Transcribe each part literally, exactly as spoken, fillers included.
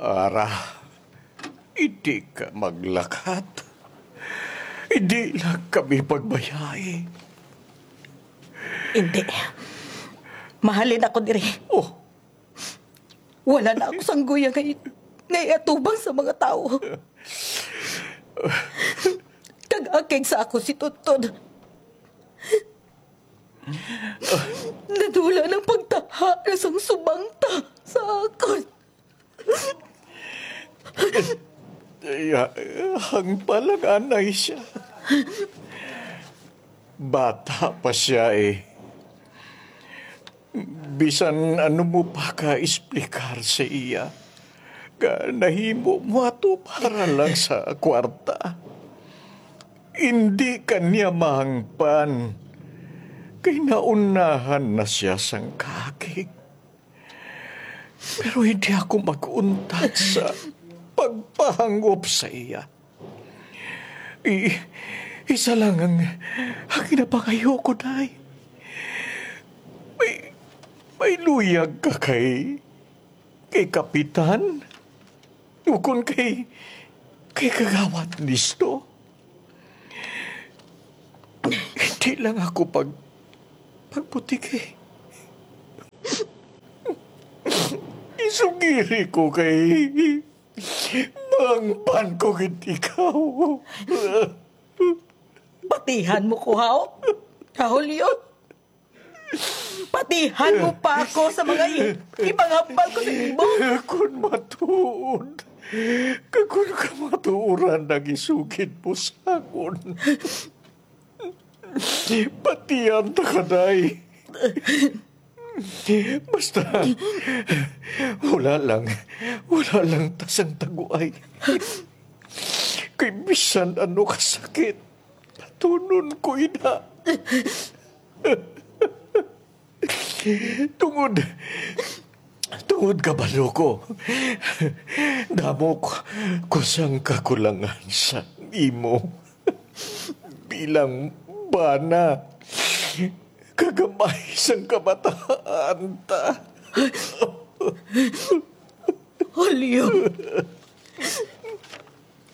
Ara, hindi ka maglakat. Hindi lang kami pagbayai. Hindi. Mahalin ako diri. Oh. Wala na ako sangguya ngay, ngay atubang sa mga tawo. Kag akig sa ako si Tuntun. Nadula ng pagtaha na sang subangta sa akon. Iya, hangpa lang anay siya. Bata pa siya, eh. Bisan ano mo pa ka-explicar sa iya, nga nahimo mo ato para lang sa kwarta. Hindi ka niya mahangpan, kay naunahan na siya sang kaakig. Pero hindi ako mag-untat sa pagpahangop sa iya. I-, isa lang ang, ang ginapangayo ko, Day. May, may luyag ka kay, kay Kapitan? Ukon kay, kay Kagawad Nisto? Hindi lang ako pag, pagputiki. Isugiri ko kay Mangpan ko gid ikaw. Patihan mo ko, haw? Ha, Julio? Patihan mo pa ako sa mga i-, ipanghambal ko sa imo? Kung matuod, kag kung kamatuoran ang isugid mo sa akon, patihan ta ka, Day. Basta, wala lang, wala lang ta sang taguay. Kay bisan ano ka sakit, patunon ko ina. Tungod, tungod kabalo ko, damo ko, ko sang kakulangan sa imo. Bilang bana, kagamay sang kabataan ta. Julio,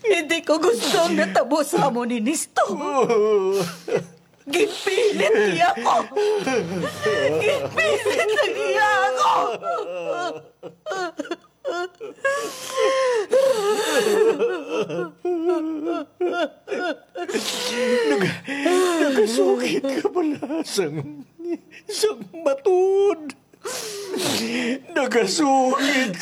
hindi ko gusto ang natabo sa amo ni Nisto. Ginpilit niya ako. Ginpilit na niya ako. Nag-, nagasugid ka pala sang, sang matuod. Nagasugid